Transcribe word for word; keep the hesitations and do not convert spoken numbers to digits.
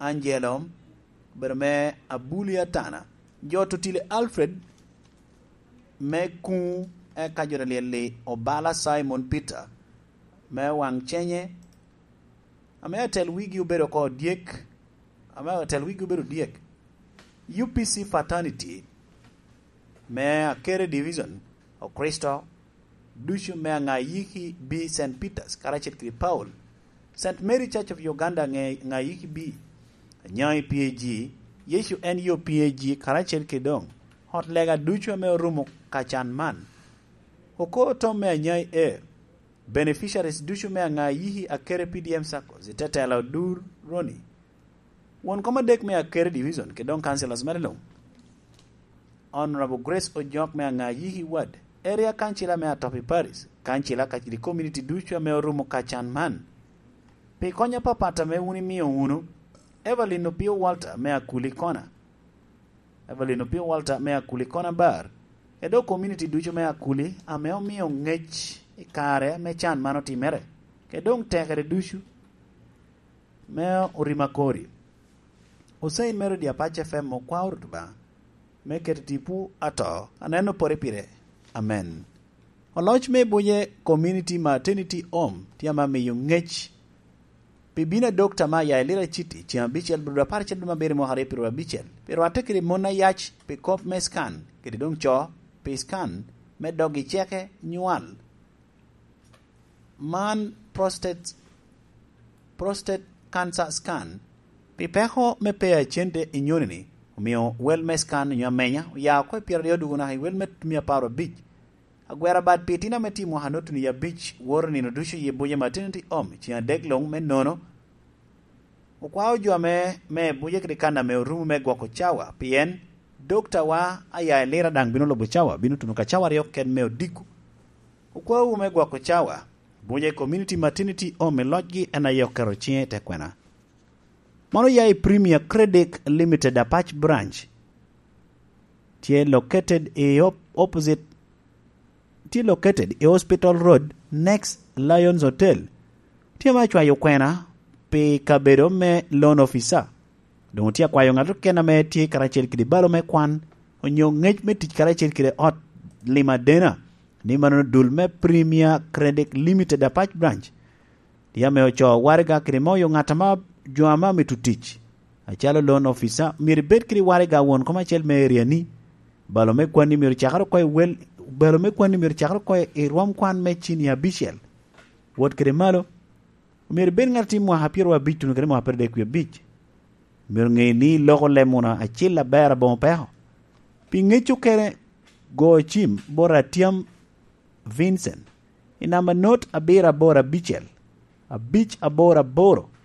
Angelo, obedo me Abuli Atana, jo Totile Alfred me Kuŋ, eka jo Daniel-li obala Simon Peter me Waŋ Cenye, ame atel wigi obedo oko dyek, ame atel wigi obedo dyek, U P C Fraternity me Akere Division, Okristo ducu me Aŋayiki B Saint Peter's karacel kede Paul, Saint Mary Church of Uganda Aŋe-, Aŋayiki B, Anyai P A G, Yecu en yo P A G karacel kede doŋ ot lega ducu ame orumo ka can man. Oko otom me Anyai A, beneficiaries ducu me Aŋayiki Akere P D M Saccos, i tetelo Dur Roni, won kom adek me Akere Division, kede doŋ councillors mere luŋ. Honorable Grace Ojok me Aŋayiki Ward, Area Councillor me Atopi Parish, Councillor kacel i community ducu ame orumo ka can man. Pi kony apapat ame wun imio wunu, Evelyn Opio Walter me Akuli Kona, Evelyn Opio Walter me Akuli Kona Bar, kede dok community ducu me Akuli ame omio ŋec i kare ame can man otimere, kede doŋ tekere ducu me orima kori. Ocain me redio Apac F M okwao Rwot Obaŋa me keto tipo ato aneno pore pire. Amen. Oloc me Buje Community Maternity Home tye ame miyo ŋec pi bino a Dokta me Ayayi Lira Citi ceŋ abicel, bur apar acel dwe me abiro mwaka aryo pyeraryo abicel, pi rwatte kede mon ayac pi kop me scan, kede doŋ co pi scan me dog i ceke nywal. Man prostate, prostate cancer scan. Pi peko me pe a cente i nyoni-ni, omio wel me scan onyo amenya oya oko i pyeraryo dwogo naka i wel me mia apar abic. Agwero abad pi itino ame tye i mwaka nut-ni abic woto nino ducu i Abuja Maternity Home ceŋ adek luŋ me nono. Okwao jo ame me Abuja kede kan ame orumo me gwoko cawa, pien doktawa Ayayi Lira daŋ bino lubo cawa, bino tuno ka cawa aryo keken me odiko. Okwaowu me gwoko cawa, Abuja Community Maternity Home i locgi en aye oketo ciŋe i te kwena. Mano ya i Premier Credit Limited Apac Branch. Tye located i op-, opposite, tye located i Hospital Road, next Lions Hotel. Tye ame acwayo kwena pi kabedo me loan officer. Doŋ otye akwayo ŋat keken ame tye karacel kede balo me kwan, onyo ŋec me tic karacel kede ot lim adena, ni mano dul me Premier Credit Limited Apac Branch. Tye ame ocoo waraga kede moyo ŋat ame jo ame amito tic, acalo loan officer, myero ibed kede waraga won kom acel me area-ni. Balo me kwanni myero cakere oko i wel, balo me kwanni myero cakere oko i rwom kwan me cinia abicel. Wot kede malo, myero ibed ŋat a tye mwaka pyeraryo abic tuno kede mwaka pyeraryo adek wie abic. Myero ŋe ni iloko leb muna acil aber aboŋo peko. Pi ŋec okene, go cim bot Atyam Vincent i namba not abiro aboro abicel, abic aboro aboro,